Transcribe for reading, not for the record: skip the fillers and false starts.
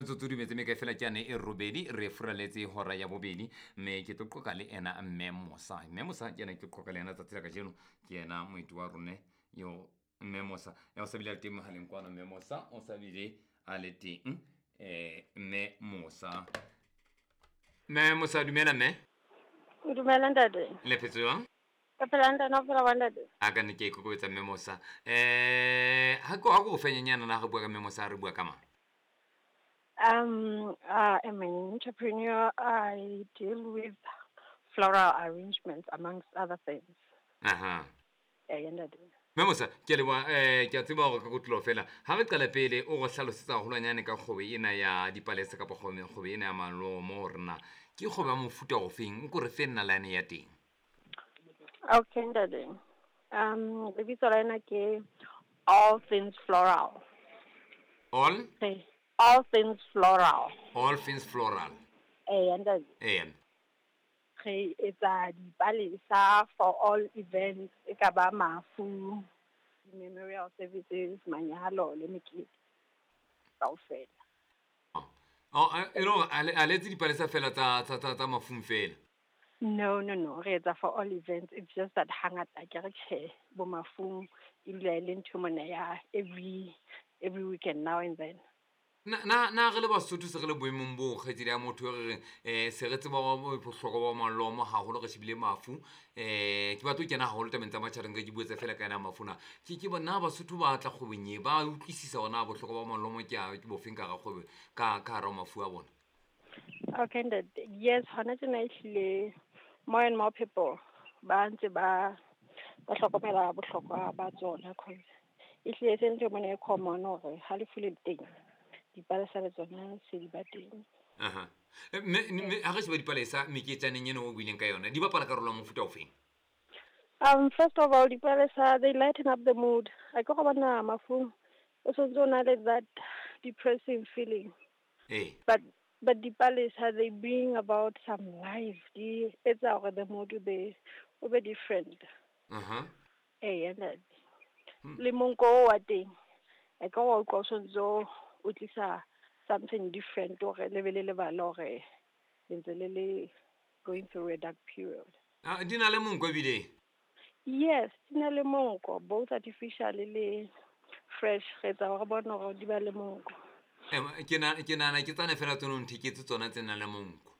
Metsotso di metse mekae fela ke yane e robedi re furaletse hora ya bobedi, mme ke tlo qoqa le ena Mme Mosa. Mme Mosa ke ena ke qoqa le ena tsatsi la kajeno, ke ena moeti wa rone yo Mme Mosa. O sa bile a le teng mohaleng kwano, Mme Mosa o sa bile a le teng. Mme Mosa, Mme Mosa, dumela mme. Dumela ntate. Le phetse jwang? Ka phela ntate, o phela jwang ntate? A ka nne ke ikokobetsa Mme Mosa. Ha ko fenyanyana na re bua ka Mme Mosa, re bua ka mang? I am an entrepreneur. I deal with floral arrangements amongst other things. Aha. Ntate. Mme Mosa, ke a leboha, ke a tseba hore ka kotloloho fela. Ha re qala pele o re hlalosetsa haholwanyane ka kgwebo ena ya dipalesa kapa kgwebo ena ya malomo hore na ke kgwebo ya mofuta ofeng, o ko re fe nalane ya teng. Okay, ntate. Lebitso la ena ke All Things Floral. All? Hey. All Things Floral. All Things Floral. Ntate. Re etsa dipalesa for all events, e ka ba mafu, memorial services, manyalo le mekete kaofela. Oh, e le hore a le etse dipalesa fela tsa mafung fela? No, no, no. Re etsa for all events. It's just that hangata ke re tjhe, bo mafung e dula e le ntho mona ya every weekend now and then. Na re le Basotho se re le boemong bo kgaitsedi ya motho e re reng, se re tseba bohlokwa ba malomo haholo, re shebile mafu. Ke batla ho kena haholo tabeng tsa matjhabeng, ke buetse fela ka yena mafu na. Ke bona Basotho ba tla kgwebong e, ba utlwisisa hore na bohlokwa ba malomo ke a, ke bofeng ka hara kgwebo, ka hara mafu a bona. Okay, ntate. Yes, hona tjena ehlile more and more people ba ntse ba hlokomela bohlokwa ba tsona, cause ehlile e se ntho mona e common hore ha lefu le teng, dipalesa le tsona se di ba teng. Aha. Mme ha re sheba dipalesa meketjaneng ena o buileng ka yona, di bapala karolo ya mofuta ofeng? First of all, dipalesa, they lighten up the mood. A ke go bona mafung, o santse o na le that depressing feeling. But dipalesa, they bring about some life. Di etsa hore the mood o be different. And that. Le monko o wa teng, a ke go utlwa o santse o tlisa something different hore le be le lebala hore le ntse le le going through a dark period. Ah, di na le monko ebile? Yes, di na le monko, both artificial le fresh. Re etsa hore bone hore di ba le monko. Ke nahana ke tsane fela tseno ntheketse tsona tse nang le monko.